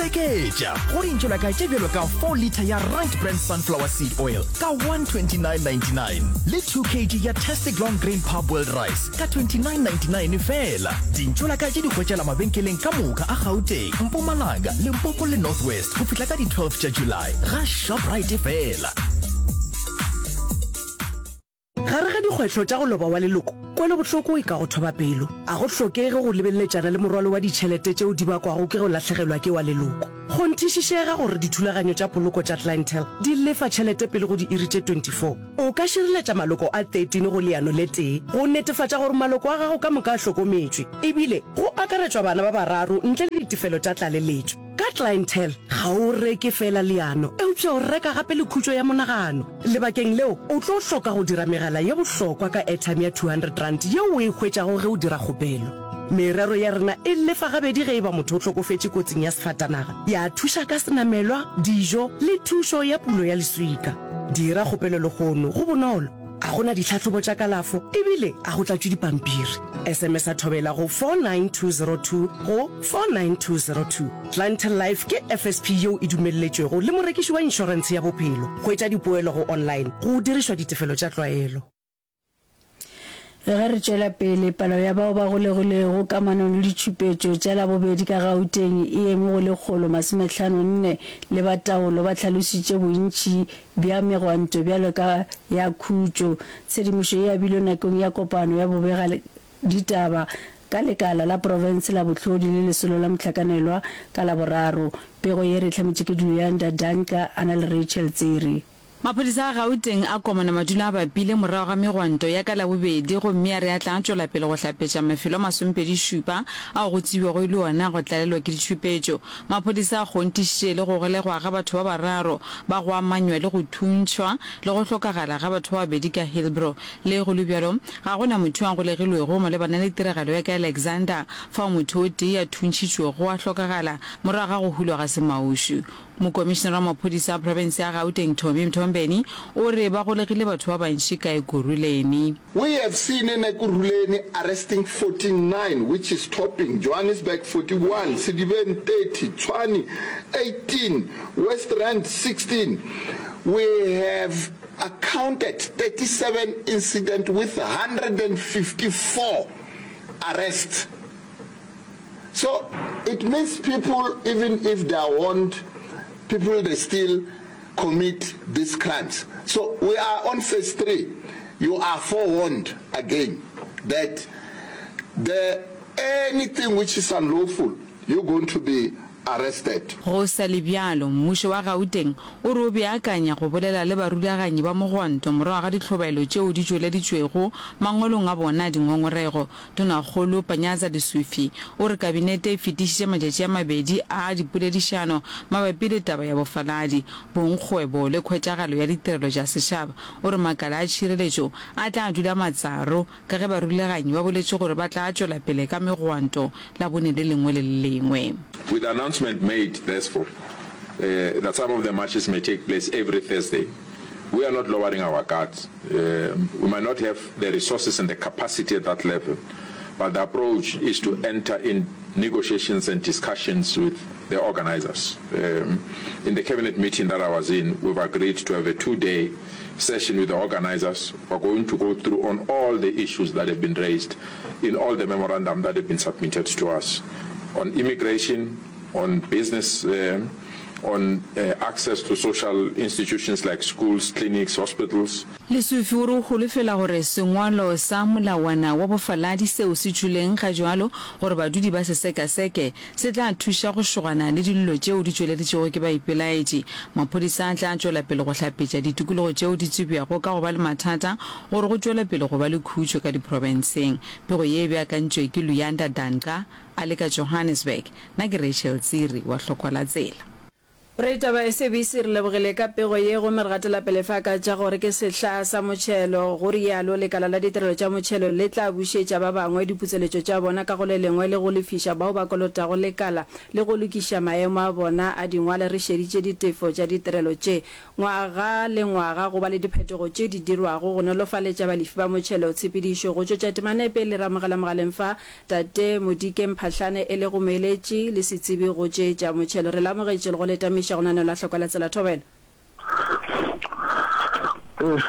Seketša go dintšolaka tše bjalo ka 4 litre ya Right Brand Sunflower Seed Oil ka 129.99 le 2 kg ya Tastic Long Grain Parboiled Rice ka 29.99 feela. Dintšolaka tše di hwetšala mabenkeleng ka moka a Gauteng, Mpumalanga, Limpopo le North West go fihla ka di 12 tša July ga Shoprite feela. Gare ga dikgwetlho tša go loba wa leloko, kwelobohloko e ka go thoba pelo. A go hlokege go lebeleletšana le morwalo wa ditšhelete tšeo di bakwago ke go lahlegelwa ke wa leloko. Kgonthišišega gore dithulaganyo tša poloko tša Clientele di lefa tšhelete pele go diiri tše 24. O ka šireletša maloko a 13 go leano le tee go netefatša gore maloko a gago ka moka a hlokometšwe, ebile go akaretšwa bana ba bararo ntle le ditefelo tša tlaleletšo. Ka Clientele, ga o reke feela leano, eupša o reka gape le khutšo ya monagano. Lebakeng leo, o tlo hloka go dira megala ye bohlokwa ka airtime ya R200 yeo o e hwetšago ge o dira kgopelo. Merero ya rena e lefa gabedi ge e ba motho o hlokofetše kotsing ya sefatanaga, ya thuša ka senamelwa, dijo le thušo ya pulo ya leswika. Dira kgopelo lehono, go bonolo, ga go na ditlhahlobo tša kalafo ebile ga go tlatšwe dipampiri. SMS-a Thobela go 49202 go 49202. Clientele Life ke FSP yeo e dumelletšwego le morekiši wa inšorentshe ya bophelo. Hwetša dipoelo go online go dirišwa ditefelo tša tlwaelo. Ge re tšwela pele, palo ya bao ba golegilwego kamanong le ditšhupetšo tša Labobedi ka Gauteng e eme go 154, le ba taolo ba hlalositše bontši bja megwanto bjalo ka ya khutšo. Tshedimošo e abilwe nakong ya kopano ya bobegaditaba ka lekala la profense la bohlodi le lesolo la mohlakanelwa ka Laboraro. Pego ye re e hlametše ke Luyanda Danka a na le Rachel Tsiri. Maphodisa a Gauteng a komana madulo a bapile morago ga megwanto ya ka Labobedi gomme a re a tla tšwela pele go hlapetša mafelo a masomepedi-šupa ao go tsebjago e le ona a go tlalelwa ke ditšhupetšo. Maphodisa a kgonthišitše le go golegwa ga batho ba bararo ba go amanywa le go thuntšhwa le go hlokagala ga batho ba babedi ka Hillbrow. Le go le bjalo, ga go na motho yo a golegilwego malebana le tiragalo ya ka Alexander fao motho o tee a thuntšhitšwego a hlokagala morago ga go hulwa ga semaušu. Mokomišenara wa maphodisa a profense ya Gauteng Tommy Mthombeni o re ba golegile batho ba bantši ka Ekurhuleni. We have seen in Ekurhuleni arresting 49 which is topping, Johannesburg 41, Sedibeng 30, Tshwane 18, West Rand 16. We have accounted 37 incident with 154 arrests. So it means people even if they are warned, people they still commit these crimes. So we are on phase 3. You are forewarned again that the anything which is unlawful, you're going to be arrested. Go sa le bjalo, mmušo wa Gauteng o re o beakanya go bolela le barulaganyi ba mogwanto morago ga dihlobaelo tšeo di tšweleditšwego mangwalong a bona a dingongorego. Tonakgolo Panyaza Lesufi o re kabinete e fetišitše matšatši a mabedi a dipoledišano mabapi le taba ya bofaladi, bongkgwebo le khwetšagalo ya ditirelo tša setšhaba. O re makala a tšhireletšo a tla dula matsaro ka ge barulaganyi ba boletše gore ba tla tšwela pele ka megwanto Labone le lengwe le le lengwe. With the announcement made therefore that some of the marches may take place every Thursday, we are not lowering our guards. We might not have the resources and the capacity at that level, but the approach is to enter in negotiations and discussions with the organizers. In the cabinet meeting that I was in, we've agreed to have a two-day session with the organizers. We're going to go through on all the issues that have been raised in all the memorandum that have been submitted to us on immigration, on business, on access to social institutions like schools, clinics, hospitals. Lesufi o re o holofela gore sengwalo sa molawana wa bofaladi seo se tšwileng gajwalo gore badudi ba se sekaseke se tla thuša go šogana le dillo tšeo di tšweleditšwego ke baipelaetši. Maphodisa a tla tšwela pele go hlapetša ditikologo tšeo di tsebjago ka go ba le mathata gore go tšwele pele go ba le khutšo ka diprofenseng. Pego ye e beakantšwe ke Luyanda Danca a le ka Johannesburg. Nna ke Rachel Tsiri wa Hlokwa la Tsela. Raditaba SABC re lebogile ka pego ye gomme re gatela pele fa ka tša gore ke sehla sa motšhelo, go rialo lekala la ditirelo tša motšhelo le tla bušetša ba bangwe diputseletšo tša bona ka go le lengwe le go lefiša bao ba kolotago lekala le go lokiša maemo a bona a dingwale re šeditše ditefo tša ditirelo tše. Ngwaga le ngwaga go ba le diphetogo tše di dirwago go nolofaletša balefi ba motšhelo tshepedišo. Go tšwetša temana e pele re amogela mogaleng fa Tate Modike Mphahlane e lego moeletši le setsebi go tše tša motšhelo. Re le amogetše le go le tamiša go lenaneo la Hlokwa la Tsela Thobela. Ee,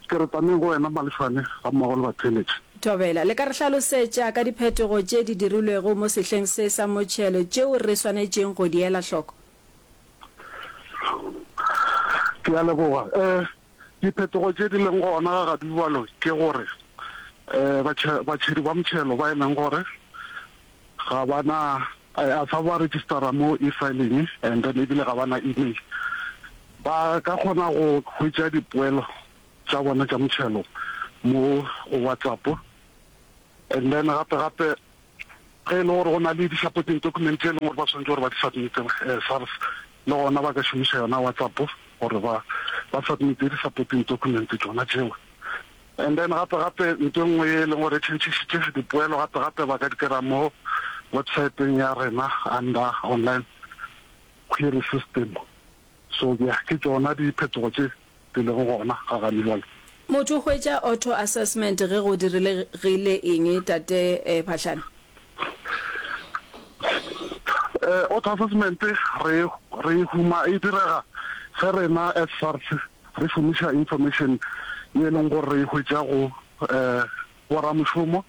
ke re tameng go wena Malefane gammogo le batheeletši. Thobela, le ka re hlalosetša ka diphetogo tše di dirilwego mo sehleng se sa motšhelo tšeo re swanetšeng go di ela hloko? Ke a leboga. Um diphetogo tše di leng gona ga gadibjalo ke gore um batšhedi ba motšhelo ba e leng gore ga ba na a sa ba registera mo e-filing and then ebile ga ba na email ba ka kgona go hwetša dipoelo tša bona tša motšhelo mo go WhatsApp and then gape gape Ge e le gore go na le di-supporting document tše e leng gore ba swanetše gore ba di submite SARS, le gona ba ka šomiša yona WhatsApp gore ba ba submite di-supporting document tšona tšeo. And then gape gape ntho e nngwe ye e leng gore e tšhentšhišitše dipoelo gape gape ba ka di kry-a mo websiteng ya rena under online query system. So yeah, ke tšona diphetogo tše di lego gona ga gane bjale. Motho o hwetša auto assessment ge go diregile eng tate Phahlane? Auto assessment re re e huma e direga ge rena as SARS re šomiša information ye e leng gore re e hwetša go boramošomo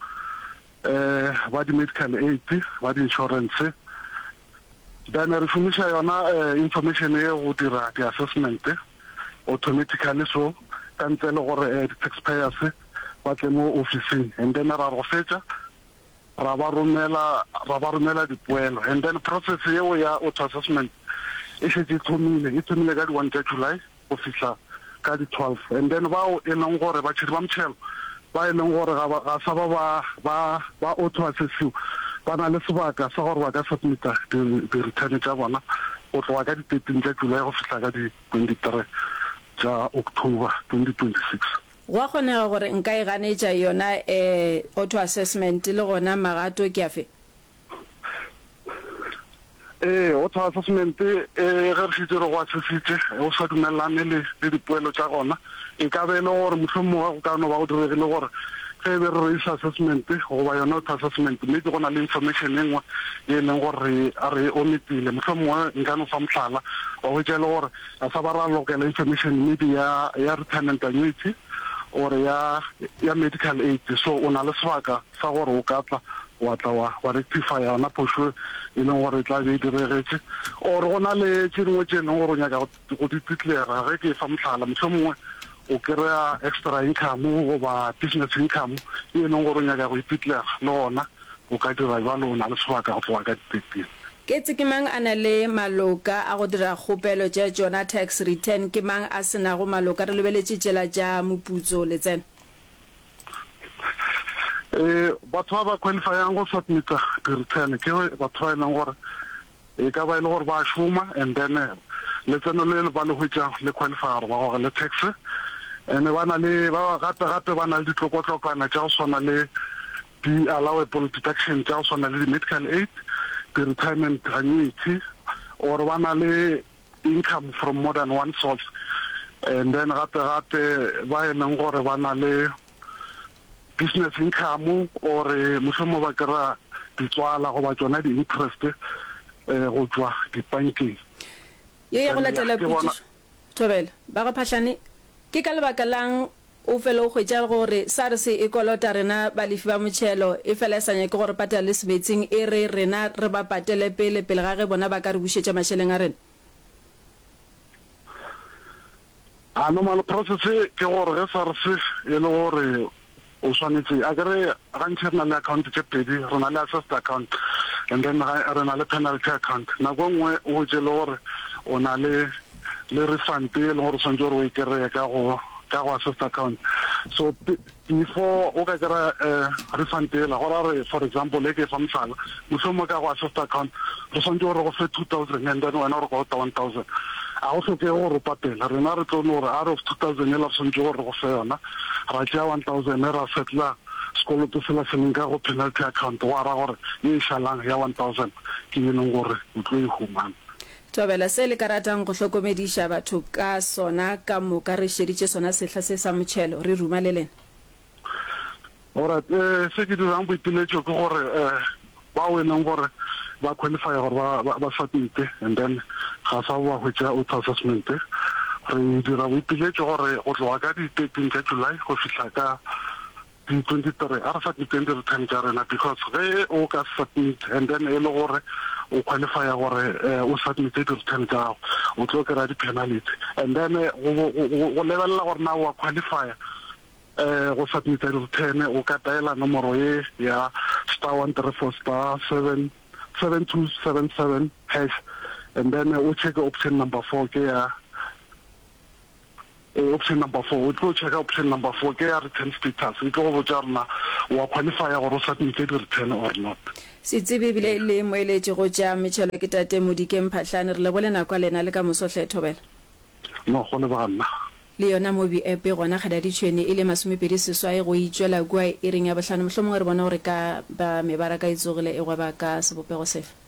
ba di medical aid, ba di insurance. Then re šomiša yona information ye go dira di assessment automatically so ka ntle le gore di taxpayers ba tle mo ofising and then ra re go fetša ra ba romela ra ba romela dipoelo and then process yeo ya auto assessment e šetše e thomile e thomile ka di one tša July. go fihla ka di 12 and then bao e leng gore batšhedi ba motšhelo ba e leng gore ga ba ga sa ba ba ba ba auto assessiwa ba na le sebaka sa gore ba ka submita di di return tša bona go tloga ka di 13 tša July go fihla ka di 23 tša October 2026. Go a kgonega gore nka e ganetša yona auto assessment le gona magato ke afe? Ee, auto assessment e ge re šetše re go assessitše o sa dumelelane le le dipoelo tša gona, e ka be e le gore mohlomongwe go ka no ba go diregile gore ge e be re raise assessment goba yona auto assessment maybe go na le information e nngwe ye e leng gore re re e omitile. Mohlomongwe nka no fa mohlala, wa hwetša e le gore ga sa ba ra lokela information maybe ya ya retirement annuity or ya ya medical aid, so o na le sebaka sa gore o ka tla wa tla wa, wa rectifya yona phošo e leng gore e tla be e diregetše, or go na le tše dingwe tše e leng gore o nyaka go, go di declare. Ge ke efa mohlala, mohlomongwe o kry-a extra income goba business income e leng gore o nyaka go e declare, le gona o ka dira bjalo, o na le sebaka go tloga ka di 13. Ketse ke mang a na le maloka a go dira kgopelo tša tšona tax return, ke mang a se nago maloka, re lebeletše tšela tša moputso letseno. Ee, batho ba ba qualifyang go submita di-return ke batho ba e leng gore e ka ba e le gore ba šoma and then letseno le ba le hwetšang le qualify gore ba gogele tax and ba na le ba gape gape ba na le ditlokotlokwana tša go swana le di-allowable deduction tša go swana le di-medical aid, di-retirement annuity or ba na le income from more than one source and then gape gape ba e leng gore ba na le business income or mohlomongwe ba kry-a ditswala goba tšona di-interest go tšwa dipankeng. Ye ya go latela potšišo, Thobela, ba ga Phahlane, ke ka lebaka la'ng O fele o hwetša gore SARS e kolota rena balefi ba motšhelo, efela e sa nyake go re patela le sebetsing, e re rena re ba patele pele, pele ga ge bona ba ka re bušetša mašeleng a rena. A normal process ke gore ge SARS e le gore o swanetše, akere gantši re na le account tše pedi, re na le assessed account and then re na le penalty account. Nako e nngwe o hwetše e le gore o na le le refund e leng gore o swanetše gore o e kry-e ka go ka go assessed account. So before o ka kry-a refund yela, go ra gore for example, e ke e fa mohlala, mohlomongwe ka go assessed account re swanetše gore re go fe 2000 and then wena o re kolota 1000. A go hlokege gore o patele, rena re tlo no gore out of 2000 yela re swanetše gore re go fe yona, ra tšea 1000 ra settler sekoloto sela se leng ka go penalty account, gwa ra gore ye e šalang ya 1000 ke ye e leng gore o tlo e humana. Thobela, se le ka ratang go hlokomediša batho ka sona ka moka re šeditše sona sehla se sa motšhelo, re ruma le lena. Alright, eh, se ke dirang boipiletšo ke gore eh, bao e leng gore ba qualify gore ba, ba, ba submite and then ga sa ba hwetša auto assessment, re dira boipiletšo gore go tloga ka di 13 tša July go fihla ka Di 23, a re submiteng di return tša rena because ge o ka submit and then e le gore o qualifya gore o submite di return tša gago o tlo kry-a di penalty and then go lebelela gore na wa qualifya go submita di return o ka dialer nomoro ye ya star 134 star 7 7277 hash and then o check option number 4 ke ya Ee, option number 4, o tlo checka option number 4 ke ya return status, e tlo go botša gore na wa qualifya gore o submite di return or not. Setsebi ebile e le moeletši go tša metšhelo ke Tate Modikeng Phahlane. Re lebole nako ya lena le ka moso hle Thobela. No, go leboga nna. Le yona Mobi App e gona Kgadaditšhwene e le masomepedi seswai go itšwela kua iring ya bohlano. Mohlomongwe re bone gore ka ba mebaraka e tsogile e gweba ka sebopego sefe.